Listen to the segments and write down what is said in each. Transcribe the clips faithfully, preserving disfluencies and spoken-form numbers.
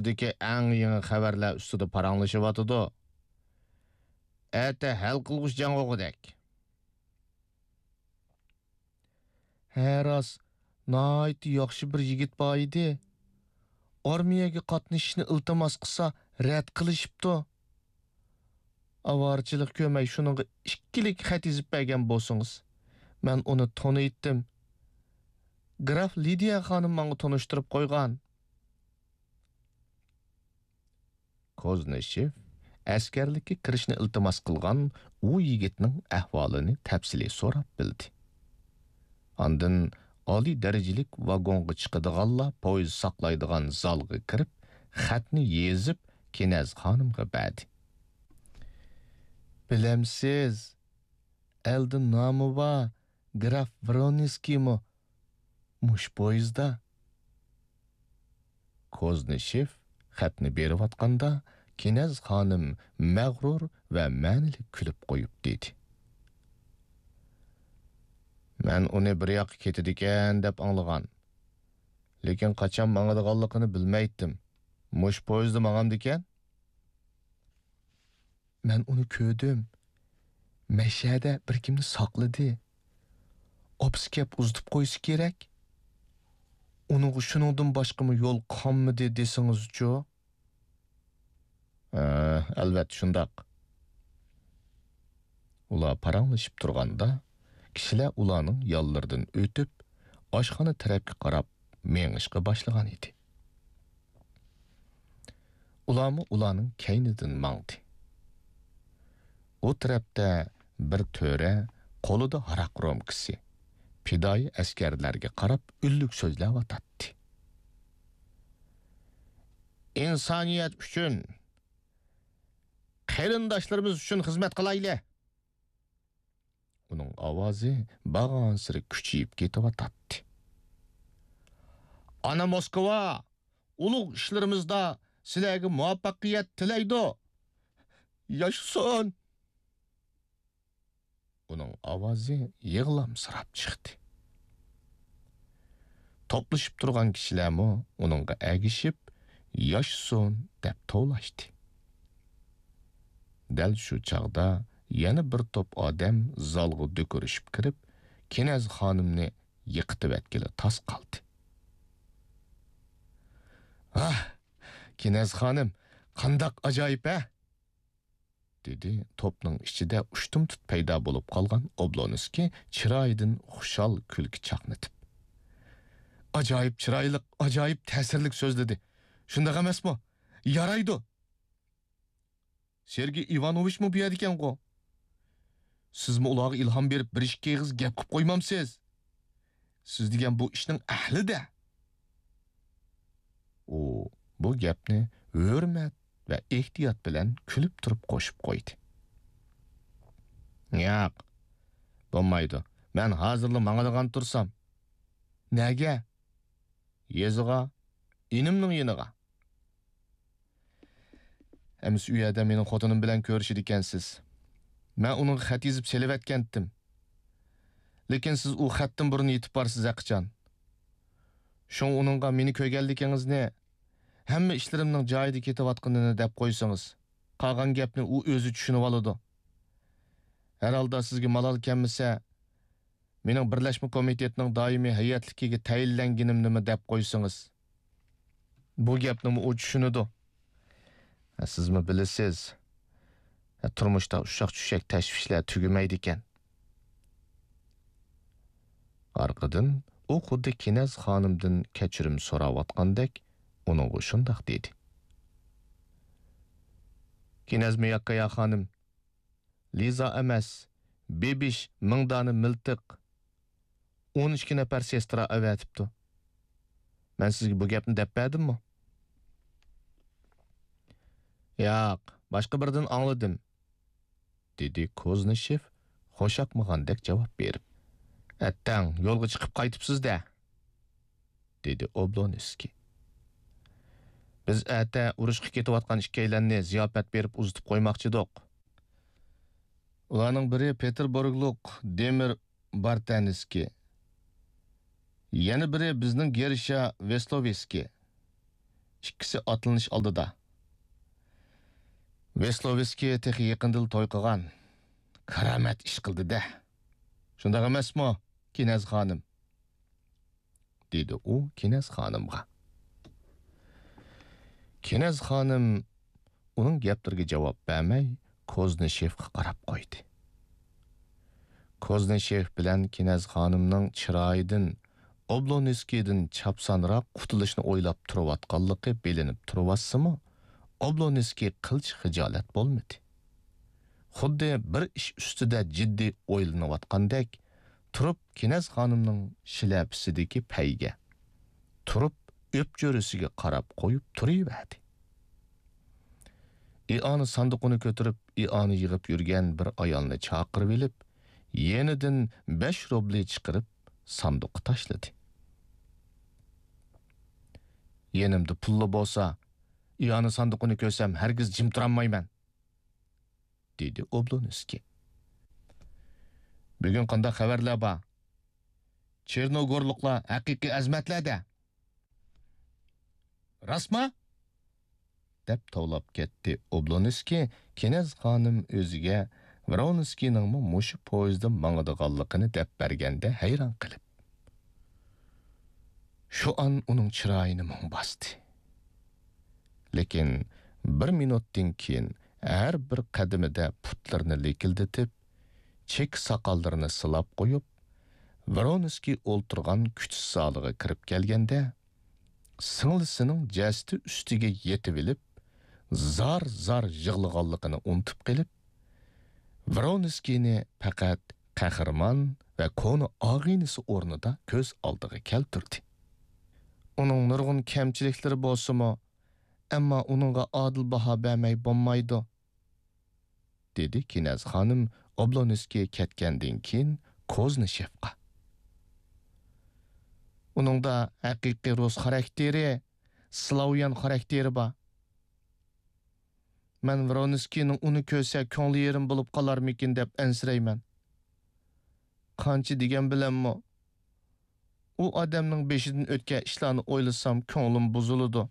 دۇنيادىكى ئەڭ يېڭى خەۋەرلەر ئۈستىدە پاراڭلىشىۋاتىدۇ. ئەتە ھەل قىلغۇچ جەڭ بولغۇدەك. ھە، راست، ناھايىتى ياخشى بىر يىگىت بار ئىدى. ئارمىيەگە قاتنىشىشنى ئىلتىماس قىلسا، رەت قىلىشىپتۇ. ئاۋارىچىلىق كۆرمەي شۇنىڭغا ئىككىلىك خەت يېزىپ بەرگەن بولسىڭىز. مەن ئۇنى تونۇيتتىم. گراف لىدىيە خانىم ماڭا تونۇشتۇرۇپ قويغان. كوزنىشېف ئەسكەرلىككە كىرىشنى ئىلتىماس قىلغان ئۇ يىگىتنىڭ ئەھۋالىنى تەپسىلىي سوراپ بىلدى. ئاندىن ئالىي دەرىجىلىك ۋاگونغا چىقىدىغانلار پويىز ساقلايدىغان زالغا كىرىپ، خەتنى يېزىپ، كىنەز خانىمغا بەردى. بىلەمسىز، ئەلدە نامى بار گراف ۋرونسكىيمۇ مۇشۇ پويىزدا. كوزنىشېف خەتنى بېرىۋاتقاندا، كىنەز خانىم مەغرۇر ۋە مەنىلىك كۈلۈپ قويۇپ دېدى: مەن ئۇنى بىر ياققا كېتىدىكەن دەپ ئاڭلىغان. لېكىن قاچان ماڭىدىغانلىقىنى بىلمەيتتىم. مۇشۇ پويىزدا ماڭامدىكەن؟ مەن ئۇنى كۆردۈم. مەشەدە بىر كىمنى ساقلىدى. ئاپىسى كەپ ئۇزىتىپ قويسا كېرەك. ئۇنىڭغا شۇنىڭدىن باشقىمۇ يول قالمىدى دېسىڭىزچۇ؟ ھە، ئەلۋەتتە شۇنداق. ئۇلار پاراڭلىشىپ تۇرغاندا، كىشىلەر ئۇلارنىڭ يانلىرىدىن ئۆتۈپ، ئاشخانا تەرەپكە قاراپ مېڭىشقا باشلىغان ئىدى. ئۇلارمۇ ئۇلارنىڭ كەينىدىن ماڭدى. ئۇ تەرەپتە بىر تۆرە قولىدا ھاراق رومكىسى، پىدائىي ئەسكەرلەرگە قاراپ ئۈنلۈك سۆزلەۋاتاتتى. ئىنسانىيەت ئۈچۈن، قېرىنداشلىرىمىز ئۈچۈن خىزمەت قىلايلى! ئۇنىڭ ئاۋازى بارغانسېرى كۈچىيىپ كېتىۋاتاتتى. ئانا موسكۋا ئۇلۇغ ئىشلىرىمىزدا سىلەرگە مۇۋەپپەقىيەت تىلەيدۇ! ياشىسۇن! ئۇنىڭ ئاۋازى يىغلامسىراپ چىقتى. توپلىشىپ تۇرغان كىشىلەرمۇ ئۇنىڭغا ئەگىشىپ، ياشىسۇن دەپ توۋلاشتى. دەل شۇ چاغدا يەنە بىر توپ ئادەم زالغا دۆكۈرۈشۈپ كىرىپ، كىنەز خانىمنى يىقىتىۋەتكىلى تاس قالدى. ۋاھ، كىنەز خانىم، قانداق ئاجايىپ، ھە! دېدى توپنىڭ ئىچىدە ئۇشتۇمتۇت پەيدا بولۇپ قالغان ئوبلونسكىي چىرايىدىن خۇشال كۈلكە چاقنىتىپ. ئاجايىپ چىرايلىق، ئاجايىپ تەسىرلىك سۆزلىدى. شۇنداق ئەمەسمۇ؟ يارايدۇ. سېرگېي ئىۋانوۋىچمۇ بۇ يەردىكەنغۇ؟ سىزمۇ ئۇلارغا ئىلھام بېرىپ، بىر ئىككى ئېغىز گەپ قىپ قويمامسىز؟ سىز دېگەن بۇ ئىشنىڭ ئەھلى-دە! ئۇ بۇ گەپنى ھۆرمەت ۋە ئېھتىيات بىلەن كۈلۈپ تۇرۇپ قوشۇپ قويدى. ياق، بولمايدۇ. مەن ھازىرلا ماڭىدىغان تۇرسام. نەگە؟ يېزىغا، ئىنىمنىڭ يېنىغا. ئەمىسە ئۇ يەردە مېنىڭ خوتۇنۇم بىلەن كۆرۈشىدىكەنسىز. مەن ئۇنىڭغا خەت يېزىپ سېلىۋەتكەنتىم. لېكىن سىز ئۇ خەتتىن بۇرۇن يېتىپ بارسىز ھەقىچان. شۇڭا ئۇنىڭغا مېنى كۆرگەنلىكىڭىزنى، ھەممە ئىشلىرىمنىڭ جايىدا كېتىۋاتقىنىنى دەپ قويسىڭىز، قالغان گەپنى ئۇ ئۆزى چۈشىنىۋالىدۇ. ھەر ھالدا سىزگە مالال كەلمىسە، مېنىڭ بىرلەشمە كومىتېتنىڭ دائىمىي ھەيئەتلىكىگە تەيىنلەنگىنىمنىمۇ دەپ قويسىڭىز. بۇ گەپنىمۇ ئۇ چۈشىنىدۇ. سىزمۇ بىلىسىز، تۇرمۇشتا ئۇششاق-چۈششەك تەشۋىشلەر تۈگىمەيدىكەن. ئارقىدىن ئۇ خۇددى كىنەز خانىمدىن كەچۈرۈم سوراۋاتقاندەك ئۇنىڭغا شۇنداق دېدى. كىنەز مىياكايا خانىم، لىزا ئەمەس، بېبىش مىڭ دانە مىلتىق، ئون ئىككى نەپەر سېسترا ئەۋەتىپتۇ. مەن سىزگە بۇ گەپنى دەپ بەردىممۇ؟ ياق، باشقا بىرىدىن ئاڭلىدىم، دېدى كوزنىشېف خۇشياقمىغاندەك جاۋاب بېرىپ. ئەتتەڭ يولغا چىقىپ قايتىپسىز-دە، دېدى ئوبلونسكىي. بىز ئەتە ئۇرۇشقا كېتىۋاتقان ئىككىيلەننى زىياپەت بېرىپ ئۇزىتىپ قويماقچىدۇق. ئۇلارنىڭ بىرى پېتېربۇرگلۇق دېمىر بارتەنسكىي، يەنە بىرى بىزنىڭ گېرشا ۋېستوۋسكىي، ئىككىسى ئاتلىنىش ئالدىدا. ۋېسلوۋسكىي تېخى يېقىندىلا توي قىلغان. كارامەت ئىش قىلدى-دە. شۇنداق ئەمەسمۇ، كىنەز خانىم؟ دېدى ئۇ كىنەز خانىمغا. كىنەز خانىم ئۇنىڭ گەپلىرىگە جاۋاب بەرمەي، كوزنىشېفقا قاراپ قويدى. كوزنىشېف بىلەن كىنەز خانىمنىڭ چىرايىدىن ئوبلونسكىيدىن چاپسانراق قۇتۇلۇشنى ئويلاپ تۇرۇۋاتقانلىقى بىلىنىپ تۇرۇۋاتسىمۇ، ئوبلونسكىي قىلچە خىجالەت بولمىدى. خۇددى بىر ئىش ئۈستىدە جىددىي ئويلىنىۋاتقاندەك تۇرۇپ، كىنەز خانىمنىڭ شىلەپىسىدىكى پەيگە، تۇرۇپ ئۆپچۆرىسىگە قاراپ قويۇپ تۇرۇۋەردى. ئىئانە ساندۇقىنى كۆتۈرۈپ، ئىئانە يىغىپ يۈرگەن بىر ئايالنى چاقىرىۋېلىپ، يېنىدىن بەش روبلى چىقىرىپ، ساندۇققا تاشلىدى. يېنىمدا پۇللا بولسا، ئىئانە ساندۇقىنى كۆرسەم، ھەرگىز جىم تۇرالمايمەن، دېدى ئوبلونسكىي. بۈگۈن قانداق خەۋەرلەر بار؟ چېرنوگورلۇقلار ھەقىقىي ئەزىمەتلەر-دە. راستمۇ؟ دەپ توۋلاپ كەتتى ئوبلونسكىي، كىنەز خانىم ئۆزىگە ۋرونسكىينىڭمۇ مۇشۇ پويىزدا ماڭىدىغانلىقىنى دەپ بەرگەندە ھەيران قېلىپ. شۇ ئان ئۇنىڭ چىرايىنى مۇڭ باستى. لېكىن بىر مىنۇتتىن كېيىن ھەر بىر قەدىمىدە پۇتلىرىنى لىكىلدىتىپ، چېكە ساقاللىرىنى سىلاپ قويۇپ، ۋرونسكىي ئولتۇرغان كۈتۈش زالىغا كىرىپ كەلگەندە، سىڭلىسىنىڭ جەسىتى ئۈستىگە يېتىۋېلىپ، زار-زار يىغلىغانلىقىنى ئۇنتۇپ قېلىپ، ۋرونسكىينى پەقەت قەھرىمان ۋە كونا ئاغىنىسى ئورنىدا كۆز ئالدىغا كەلتۈردى. ئۇنىڭ نۇرغۇن كەمچىلىكلىرى بولسىمۇ، ئەمما ئۇنىڭغا ئادىل باھا بەرمەي بولمايدۇ، دېدى كىنەز خانىم ئوبلونسكىي كەتكەندىن كېيىن كوزنىشېفقا. ئۇنىڭدا ھەقىقىي رۇس خاراكتېرى، سلاۋيان خاراكتېرى بار. مەن ۋرونسكىينىڭ ئۇنى كۆرسە كۆڭلى يېرىم بولۇپ قالارمىكىن دەپ ئەنسىرەيمەن. قانچە دېگەن بىلەنمۇ، ئۇ ئادەمنىڭ بېشىدىن ئۆتكەن ئىشلارنى ئويلىسام كۆڭلۈم بۇزۇلىدۇ.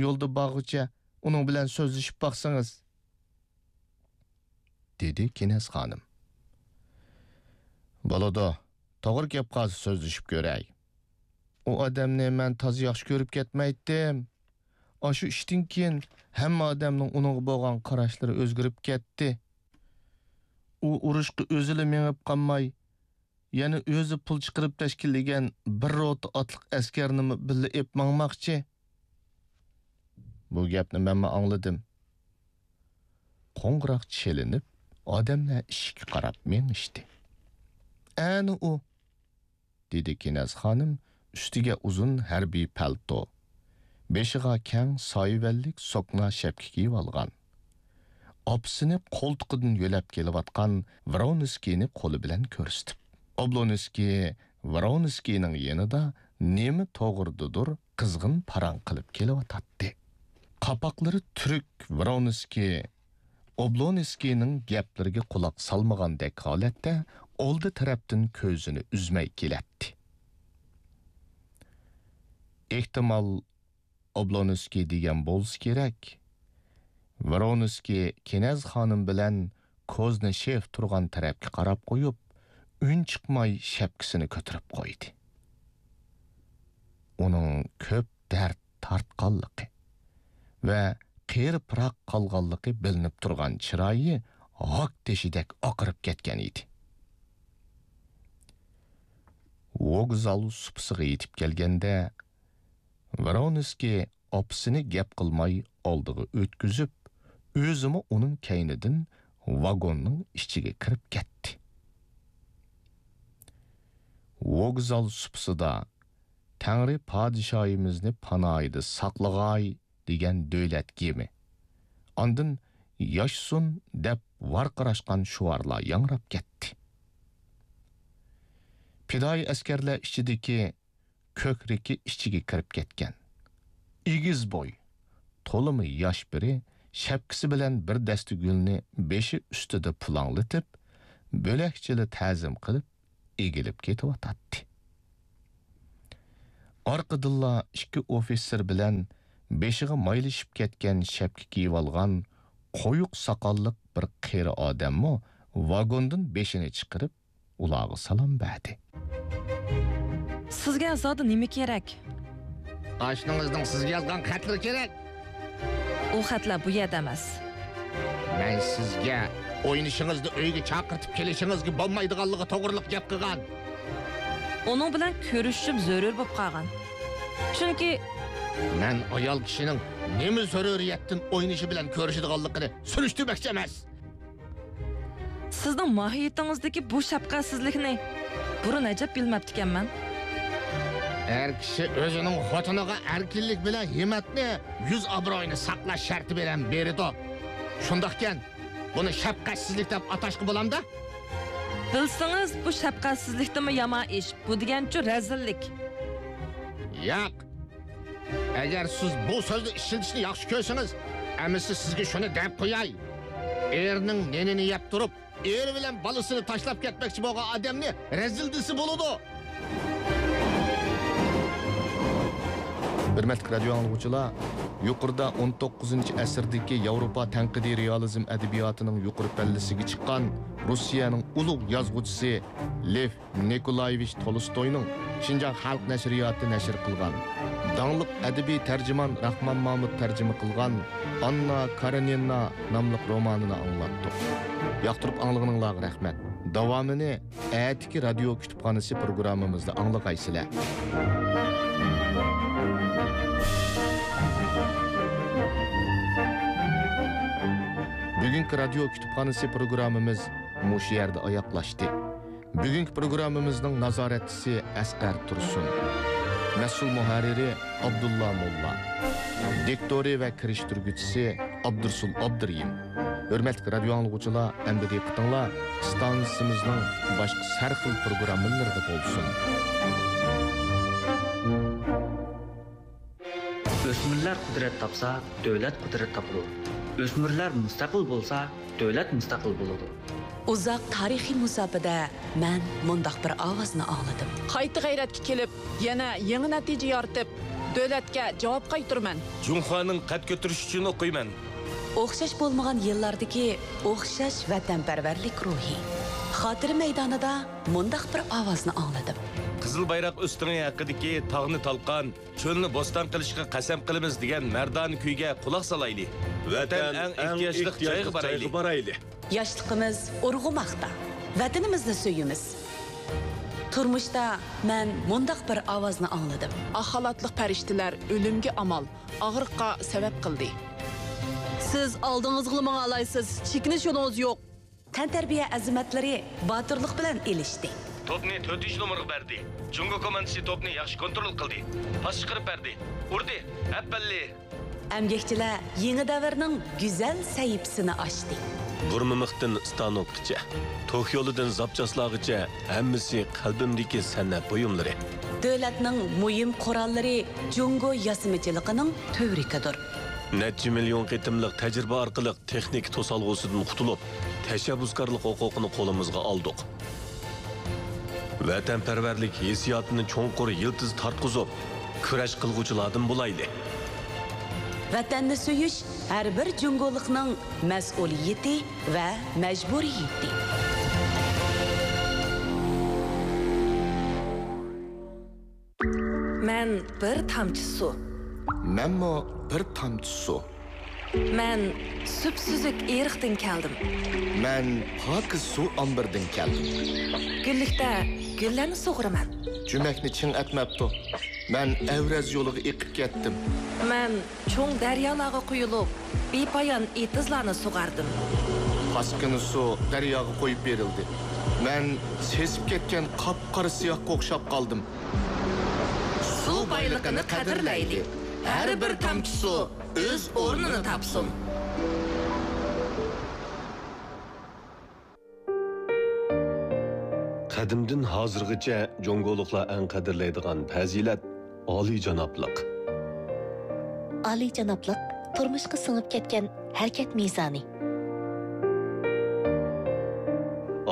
يولدا بارغۇچە ئۇنىڭ بىلەن سۆزلىشىپ باقسىڭىز، دېدى كىنەز خانىم. بولىدۇ، توغرا گەپ قالسا سۆزلىشىپ كۆرەي. ئۇ ئادەمنى مەن تازا ياخشى كۆرۈپ كەتمەيتتىم. ئاشۇ ئىشتىن كېيىن ھەممە ئادەمنىڭ ئۇنىڭغا بولغان قاراشلىرى ئۆزگىرىپ كەتتى. ئۇ ئۇرۇشقا ئۆزىلا مېڭىپ قالماي، يەنە ئۆزى پۇل چىقىرىپ تەشكىللىگەن بىر روتا ئاتلىق ئەسكەرنىمۇ بىللە ئېلىپ ماڭماقچى. بۇ گەپنى مەنمۇ ئاڭلىدىم. قوڭغۇراق چېلىنىپ، ئادەملەر ئىشىككە قاراپ مېڭىشتى. ئەنە ئۇ، دېدى كىنەز خانىم ئۈستىگە ئۇزۇن ھەربىي پەلتو، بېشىغا كەڭ سايىۋەنلىك سوكنا شەپكە كىيىۋالغان. ئاپىسىنى قولتۇقىدىن يۆلەپ كېلىۋاتقان ۋرونسكىينى قولى بىلەن كۆرسىتىپ. ئوبلونسكىي ۋرونسكىينىڭ يېنىدا نېمە توغرىدىدۇر قىزغىن پاراڭ قىلىپ كېلىۋاتاتتى. قاپاقلىرى تۈرۈك ۋرونسكىي ئوبلونسكىينىڭ گەپلىرىگە قۇلاق سالمىغاندەك ھالەتتە ئالدى تەرەپتىن كۆزىنى ئۈزمەي كېلەتتى. ئېھتىمال، ئوبلونسكىي دېگەن بولسا كېرەك. ۋرونسكىي كىنەز خانىم بىلەن كوزنىشېف تۇرغان تەرەپكە قاراپ قويۇپ، ئۈن چىقماي شەپكىسىنى كۆتۈرۈپ قويدى. ئۇنىڭ كۆپ دەرد تارتقانلىقى ۋە قېرى پىراق قالغانلىقى بىلىنىپ تۇرغان چىرايى ھاك تېشىدەك ئاقىرىپ كەتكەن ئىدى. ۋوگزال سۇپىسىغا يېتىپ كەلگەندە، ۋرونسكىي ئاپىسىنى گەپ قىلماي ئالدىغا ئۆتكۈزۈپ، ئۆزىمۇ ئۇنىڭ كەينىدىن ۋاگوننىڭ ئىچىگە كىرىپ كەتتى. ۋوگزال سۇپىسىدا «تەڭرى پادىشاھىمىزنى پاناھىدا ساقلىغاي» دېگەن دۆلەت گىمى، ئاندىن «ياشىسۇن» دەپ ۋارقىراشقان شوئارلار ياڭراپ كەتتى. پىدائىي ئەسكەرلەر ئىچىدىكى كۆكرىكى ئىچىگە كىرىپ كەتكەن، ئېگىز بوي، تولىمۇ ياش بىرى شەپكىسى بىلەن بىر دەستە گۈلنى بېشى ئۈستىدە پۇلاڭلىتىپ، بۆلەكچىلا تەزىم قىلىپ، ئېگىلىپ كېتىۋاتاتتى. ئارقىدىنلا ئىككى ئوفىتسېر بىلەن بېشىغا مايلىشىپ كەتكەن شەپكە كىيىۋالغان قويۇق ساقاللىق بىر قېرى ئادەممۇ ۋاگوندىن بېشىنى چىقىرىپ، ئۇلارغا سالام بەردى. سىزگە زادى نېمە كېرەك؟ ئاشنىڭىزنىڭ سىزگە يازغان خەتلىرى كېرەك. ئۇ خەتلەر بۇ يەردە ئەمەس. مەن سىزگە ئوينىشىڭىزنى ئۆيگە چاقىرتىپ كېلىشىڭىزگە بولمايدىغانلىقى توغرىلىق گەپ قىلغان. ئۇنىڭ بىلەن كۆرۈشۈشۈم زۆرۈر بولۇپ قالغان. چۈنكى مەن ئايال كىشىنىڭ نېمە زۆرۈرىيەتتىن ئوينىشى بىلەن كۆرۈشىدىغانلىقىنى سۈرۈشتۈرمەكچى ئەمەس. سىزنىڭ ماھىيىتىڭىزدىكى بۇ شەپقەتسىزلىكنى بۇرۇن ئەجەب بىلمەپتىكەنمەن. ئەر كىشى ئۆزىنىڭ خوتۇنىغا ئەركىنلىك بىلەن ھىممەتنى، يۈز ئابرۇيىنى ساقلاش شەرتى بىلەن بېرىدۇ. شۇنداقكەن، بۇنى شەپقەتسىزلىك دەپ ئاتاشقا بولامدا؟ بىلسىڭىز، بۇ شەپقەتسىزلىكتىنمۇ يامان ئىش. بۇ دېگەنچۇ رەزىللىك. ياق. ئەگەر سىز بۇ سۆزنى ئىشلىتىشنى ياخشى كۆرسىڭىز، ئەمىسە سىزگە شۇنى دەپ قوياي. ئېرىنىڭ نېنىنى يەپ تۇرۇپ، ئېرى بىلەن بالىسىنى تاشلاپ كەتمەكچى بولغان ئادەمنى رەزىل دېسە بولىدۇ. ھۆرمەتلىك رادىيو ئاڭلىغۇچىلار، يۇقىرىدا ئون توققۇزىنچى ئەسىردىكى ياۋروپا تەنقىدىي رېئالىزم ئەدەبىياتىنىڭ يۇقىرى پەللىسىگە چىققان روسىيەنىڭ ئۇلۇغ يازغۇچىسى لېف نىكولايېۋىچ تولستوينىڭ شىنجاڭ خەلق نەشرىياتى نەشر قىلغان، داڭلىق ئەدەبىي تەرجىمان راخمان مامۇت تەرجىمە قىلغان ئاننا كارېنىنا ناملىق رومانىنى ئاڭلاتتۇق. ياقتۇرۇپ ئاڭلىغىنىڭلارغا رەھمەت. داۋامىنى ئەتىكى رادىيو كۇتۇپخانىسى پروگراممىمىزدا ئاڭلىغايسىلەر. بۈگۈنكى رادىيو كۇتۇپخانىسى پروگراممىمىز مۇشۇ يەردە ئاياغلاشتى. بۈگۈنكى پروگراممىمىزنىڭ نازارەتچىسى ئەسقەر تۇرسۇن، مەسئۇل مۇھەررىرى ئابدۇللا موللا، دىكتورى ۋە كىرىشتۈرگۈچىسى ئابدۇرسۇل ئابدۇرېھىم. ھۆرمەتلىك رادىيو ئاڭلىغۇچىلار، ئەمدى دىققىتىڭلار ئىستانسىمىزنىڭ باشقا سەرخىل پروگراممىلىرىدا بولسۇن. ئۆسمۈرلەر قۇدرەت تاپسا، دۆلەت قۇدرەت تاپىدۇ. ئۆسمۈرلەر مۇستەقىل بولسا، دۆلەت مۇستەقىل بولىدۇ. ئۇزاق تارىخىي مۇساپىدە مەن مۇنداق بىر ئاۋازنى ئاڭلىدىم. قايتا غەيرەتكە كېلىپ، يەنە يېڭى نەتىجە يارىتىپ، دۆلەتكە جاۋاب قايتۇرىمەن. جۇڭخۇانىڭ قەد كۆتۈرۈشى ئۈچۈن ئوقۇيمەن. ئوخشاش بولمىغان يىللاردىكى ئوخشاش ۋەتەنپەرۋەرلىك روھى. خاتىرە مەيدانىدا مۇنداق بىر ئاۋازنى ئاڭلىدىم. قىزىل بايراق ئۆستىڭى ھەققىدىكى تاغنى تالقان، چۆلنى بوستان قىلىشقا قەسەم قىلىمىز دېگەن مەردانە كۈيگە قۇلاق سالايلى. ۋەتەن ئەڭ ئېھتىياجلىق جايغا بارايلى. ياشلىقىمىز ئۇرغۇماقتا. ۋەتىنىمىزنى سۆيىمىز. تۇرمۇشتا مەن مۇنداق بىر ئاۋازنى ئاڭلىدىم. ئاق خالاتلىق پەرىشتىلەر ئۆلۈمگە ئامال، ئاغرىققا سەۋەب قىلدى. سىز ئالدىڭىزغىلا ماڭالايسىز، چېكىنىش يولىڭىز يوق. تەنتەربىيە ئەزىمەتلىرى باتۇرلۇق بىلەن ئېلىشتى. توپنى تۆتىنچى نومۇرغا بەردى. جۇڭگو كوماندىسى توپنى ياخشى كونترول قىلدى. پاس چىقىرىپ بەردى. ئۇردى. ئەپەللى! ئەمگەكچىلەر يېڭى دەۋرنىڭ گۈزەل سەھىپىسىنى ئاچتى. بۇرمىمىختىن ستانوكقىچە، توك يولىدىن زاپچاسلارغىچە ھەممىسى قەلبىمدىكى سەنئەت بۇيۇملىرى. دۆلەتنىڭ مۇھىم قوراللىرى جۇڭگو ياسىمىچىلىقىنىڭ تۈۋرۈكىدۇر. نەچچە مىليون قېتىملىق تەجرىبە ئارقىلىق تېخنىكا توسالغۇسىدىن قۇتۇلۇپ، تەشەببۇسكارلىق ھوقۇقىنى قولىمىزغا ئالدۇق. ۋەتەنپەرۋەرلىك ھېسسىياتىنى چوڭقۇر يىلتىز تارتقۇزۇپ، كۈرەش قىلغۇچىلاردىن بولايلى. ۋەتەننى سۆيۈش ھەر بىر جۇڭگولۇقنىڭ مەسئۇلىيىتى ۋە مەجبۇرىيىتى. مەن بىر تامچە سۇ. مەنمۇ بىر تامچە سۇ. مەن سۈپسۈزۈك ئېرىقتىن كەلدىم. مەن پاكىز سۇ ئامبىرىدىن كەلدىم. گۈللۈكتە گۈللەرنى سۇغۇرىمەن. جۈمەكنى چىڭ ئەتمەپتۇ. مەن ئەۋرەز يولىغا ئېقىپ كەتتىم. مەن چوڭ دەريالارغا قۇيۇلۇپ، بىپايان ئېتىزلارنى سۇغاردىم. پاسكىنا سۇ دەرياغا قويۇپ بېرىلدى. مەن سېسىپ كەتكەن قاپقارا سىياھقا ئوخشاپ قالدىم. سۇ بايلىقىنى قەدىرلەيلى. ھەر بىر تامچە سۇ ئۆز ئورنىنى تاپسۇن. قەدىمدىن ھازىرغىچە جۇڭگولۇقلار ئەڭ قەدىرلەيدىغان پەزىلەت ئالىيجانابلىق. ئالىيجانابلىق، تۇرمۇشقا سىڭىپ كەتكەن ھەرىكەت مىزانى.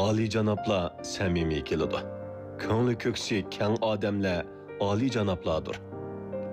ئالىيجانابلار سەمىمىي كېلىدۇ. كۆڭلى كۆكسى كەڭ ئادەملەر ئالىيجانابلاردۇر.